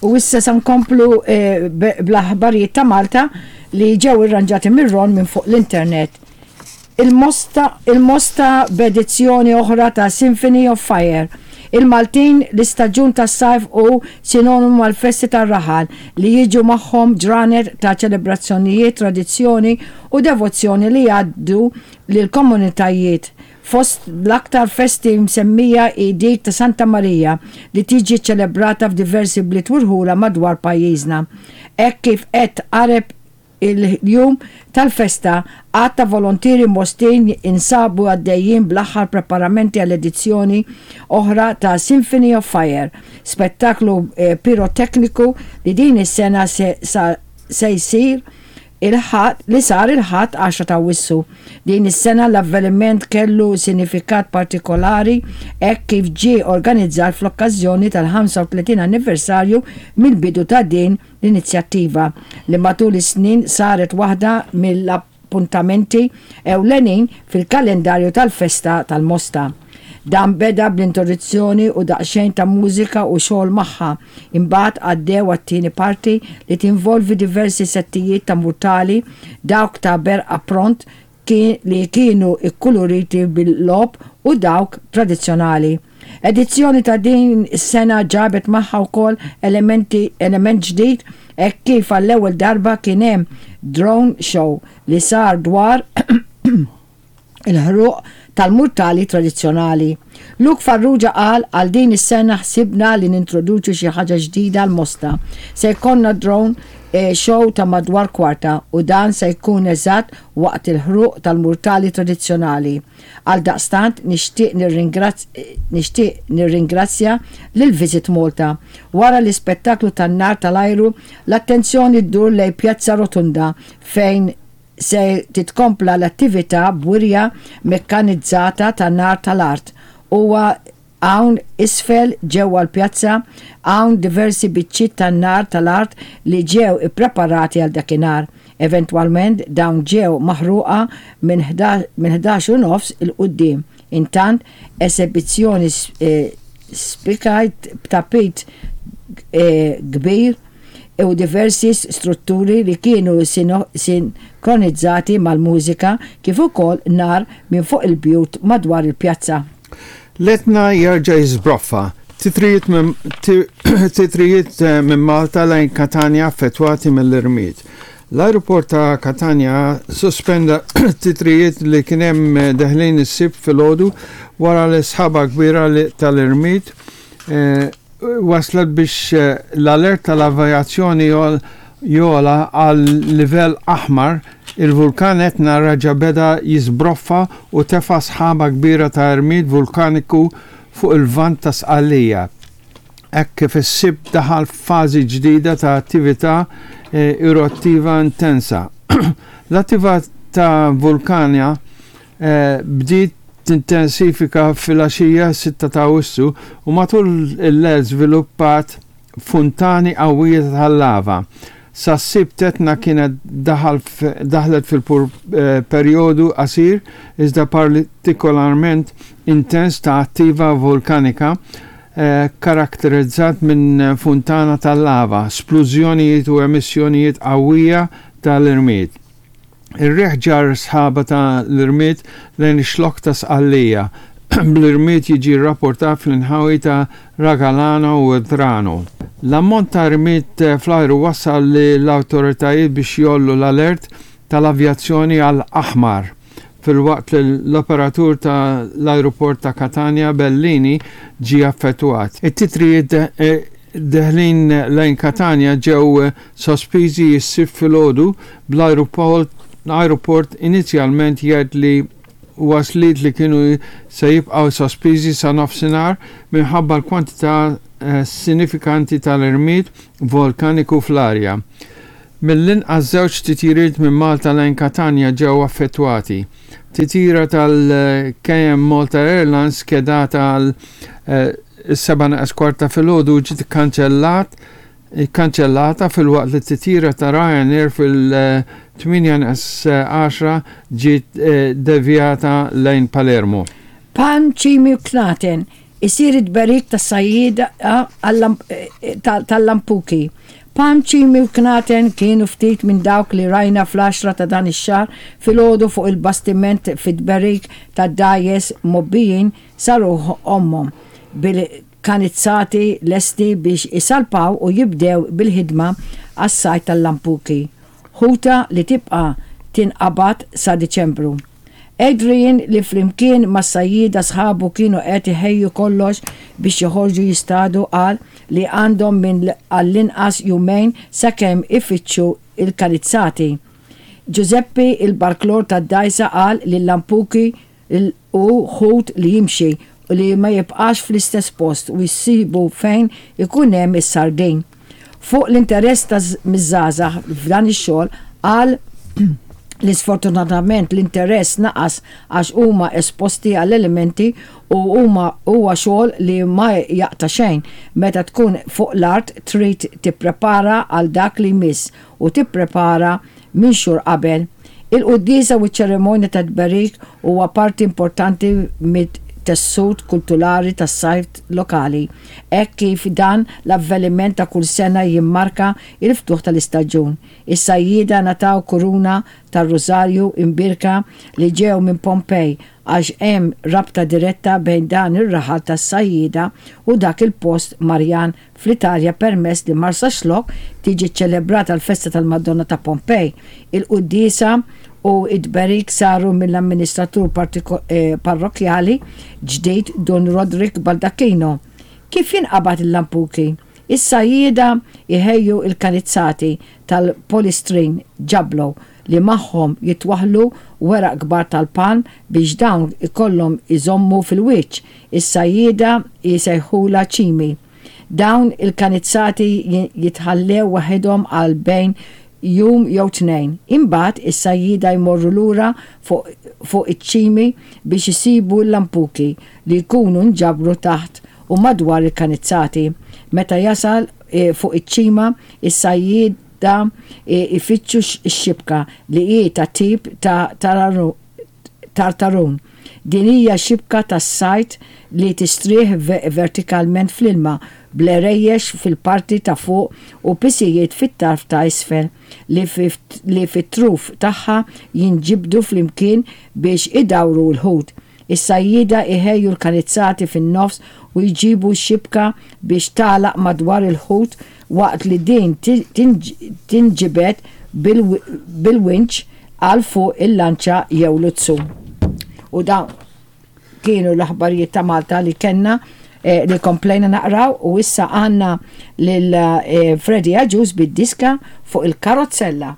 U issa sa nkomplu eh, bl-aħbarijiet ta' Malta li ġew irranġati mir-Ron minn fuq l-internet. Il-Mosta il-Mosta b'edizzjoni oħra ta' Symphony of Fire. Il-Maltin l-istaġun tas-sajf hu sinonimu mal-festi tar-raħal li jiġu magħhom ġranet ta' ċelebrazzjonijiet, tradizzjoni u devozzjoni li jgħaddu lill-komunitajiet. Fost l-aktar festi msemmija hi dik ta' Santa Marija li tiġi ċċelebrata f'diversi bliet u rħula madwar pajjiżna. Hekk kif qed tqareb il-jum tal-festa, għadd ta' volontieri Mostin jinsabu għaddejjin bl-aħħar preparamenti għal edizzjoni oħra ta' Symphony of Fire, spettaklu pirotekniku li din is-sena se jsir il-Ħadd li sar il-Ħadd 10 ta' Awwissu. Din is-sena l-avveniment kellu sinifikat partikolari hekk kif ġie organizzat fl-okkażjoni tal-35 anniversarju mill-bidu ta' din l-inizjattiva li matul is-snin saret waħda mill-appuntamenti ewlenin fil-kalendarju tal-festa tal-Mosta. Dan beda bl-introduzzjoni u daqsxejn ta' mużika u xogħol magħha, imbagħad għaddew għat-tieni parti li tinvolvi diversi settijiet ta' murtali, dawk ta' berqa pront li kienu kkuluriti bil-logħob u dawk tradizzjonali. Edizzjoni ta' din is-sena ġabet magħha wkoll elementi element ġdid hekk kif għall-ewwel darba kien hemm drone show li sar dwar il-ħruq tal-murtali tradizzjonali. Luke Farrugia qal għal din is-sena ħsibna li nintroduċu xi ħaġa ġdida għall-Mosta. Se jkollna drone show ta' madwar kwarta u dan se jkun eżatt waqt il-ħruq tal-murtali tradizzjonali. Għaldaqstant nixtieq nixtieq nirringrazzja lil Visit Malta. Wara l-ispettaklu tan-nar tal-ajru, l-attenzjoni ddur lejn Pjazza Rotunda fejn se titkompla l-attività b'wirja mekkanizzata ta' nar tal-art. Huwa hawn isfel ġewwa l-pjazza hawn diversi biċċiet tan-nar tal-art li ġew ippreparati għal dakinhar. Eventwalment dawn ġew maħruqa minn 11 u nofs 'il quddiem. Intant, esebizzjoni spikajt b'tapit kbir u diversi strutturi li kienu sinkronizzati mal-mużika kif ukoll nar minn fuq il-bjut madwar il-pjazza. L-Etna jerġa' jiżbroffa, titrijiet titrijiet minn Malta lejn Katanja affettwati mill-irmied. L-ajruport ta' Katanja sospenda titrijiet li kien hemm deħlin is-Sibt filgħodu wara li sħaba kbira tal-irmied waslet biex l-alert tal-avjazzjoni jogħla għal livell aħmar, il-vulkan Etna reġa' beda jiżbroffa u tefa' sħaba kbira ta' irmied vulkaniku fuq il-Lvant ta' Sqallija, hekk kif is-Sibt daħal f'fażi ġdida ta' attività eruttiva intensa. L-attività vulkanja bdiet tintensifika filgħaxija s-sitta ta' Awwissu u matul il-lejl żviluppat funtani qawwija tal-lava. Sas-Sibt Etna kienet daħal daħlet fil-perjodu qasir iżda partikolarment intens ta' attiva vulkanika kkaratterizzat minn funtana tal-lava, splużjonijiet u emissjonijiet qawwija tal-irmied. Ir-riħ ġarr sħaba ta' l-irmied lejn ix-xlokk ta' Sqallija, bl-irmied jiġi rrapportat fl-inħawi ta' Ragalano u Drano. L-ammont ta' irmied fl-ajru wassal lill-awtoritajiet biex jgħollu l-alert tal-avjazzjoni għal aħmar, filwaqt li l-operatur ta' l-ajruport ta' Catania Bellini ġie affettwat. It-titrijiet deħlin lejn Katanja ġew sospiżi s-Sibt filgħodu bl-ajruport inizjalment jgħid li wasliet li kienu se jibqgħu sospiżi sa nofsinhar minħabba l-kwantità sinifikanti tal-irmied volkaniku fl-arja. Mill-inqas żewġ titjiriet minn Malta lejn Katanja ġew affettwati. Titjira tal-KM Malta Airlines skedata għal is-sebgħa neqes kwart ta' filgħodu ġiet ikkanċellat ikkanċellata filwaqt li t-titjira ta' Ryanair fil-8 neqes 10 ġiet devjata lejn Palermo. Pan, ċimi u knaten. Isir it-tberik tas-sajjieda tal-lampuki. Palm, ċimi u knaten kienu ftit minn dawk li rajna fl-għaxra ta' dan ix-xahar filgħodu fuq il-bastiment fit-tberik tad-dgħajjes mgħobbijin sa ruħ ommhom bil-kanizzati lesti biex isalpaw u jibdew bil-ħidma għas-sajd tal-lampuki, ħuta li tibqa' tinqabad sa Diċembru. Adrian li flimkien mas-sajjieda sħabu kienu qed iħejju kollox biex joħorġu jistadu qal li għandhom minn għall-inqas jumejn sakemm ifittxu l-kanizzati. Ġużeppi il-barklor tad-dgħajsa qal li l-lampuki hu ħut li jimxi u li ma jibqax fl-istess post u jsibu fejn ikun hemm is-sardin. Fuq l-interess ta' miż-żgħażagħ f'dan ix-xogħol qal li sfortunatament l-interess naqas għax huma esposti għall-elementi u huma huwa xogħol li ma jaqta' xejn. Meta tkun fuq l-art trid tipprepara għal dak li jmiss u tipprepara minn xhur qabel. Il-quddiesa u ċ-ċerimonja tat-tberik huwa parti importanti mit-tessut kulturali tas-sajf lokali, hekk kif dan l-avveniment ta' kull sena jimmarka l-ftuħ tal-istaġun. Is-sajjieda ngħataw kuruna tar-Rużarju imbierka li ġew minn Pompej għax hemm rabta diretta bejn dan ir-raħal tas-sajjieda u dak il-post Marjan fl-Italja permess li Marsaxlokk tiġi ċċelebrata l-festa tal-Madonna ta' Pompej. Il-quddiesa u t-tberik saru mill-amministratur parrokkjali ġdid Dun Roderick Baldacchino. Kif jinqabad il-lampuki? Is-sajjieda jħejju l-kanizzati tal-polistrin ġablo li magħhom jitwaħħlu weraq kbar tal-palm biex dawn ikollhom iżommu fil-wiċċ. Is-sajjieda jsejħulha ċimi. Dawn il-kanizzati jitħallew waħedhom għal bejn jum jew tnejn. Imbagħad is-sajjieda jmorru lura fuq fuq iċ-ċimi biex isibu l-lampuki li jkunu nġabru taħt u madwar il-kanizzati. Meta jasal fuq iċ-ċima, is-sajjieda jfittxu x-xibka li hi ta' tip ta' tartarun. Din hija xibka tas-sajd li tistrieħ vertikalment fl-ilma bl-għerejjex fil-parti ta' fuq u pisijiet fit-tarf ta' isfel li fit-truf tagħha jinġibdu flimkien biex idawru l-ħut. Is-sajjieda jħejju l-kanizzati fin-nofs u jġibu x-xibka biex tagħlaq madwar il-ħut waqt li din tinġibed bil-winċ għal fuq il-lanċa jew luzzu. U dawn kienu l-aħbarijiet ta' Malta li kellna li komplejna naqraw u issa għandna lil Freddie Agius bid-diska fuq il-karozzella.